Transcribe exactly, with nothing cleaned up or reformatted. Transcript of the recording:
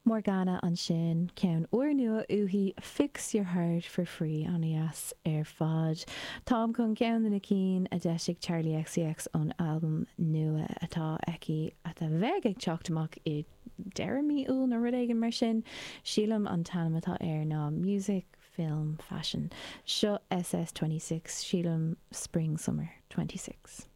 Morgana ansin, ceann úrnua uaithi, Fix Your Heart For Free, an-deas ar fad. Táim chun ceann de na cinn a d'eisigh Charli XCX ón albam nua atá aici a bheidh ag teacht amach i deireadh mí Iúil nó rud éigin mar sin. Sílim an t-ainm atá air ná Music, Film, Fashion. Seo SS twenty six, sílim Spring Summer twenty six.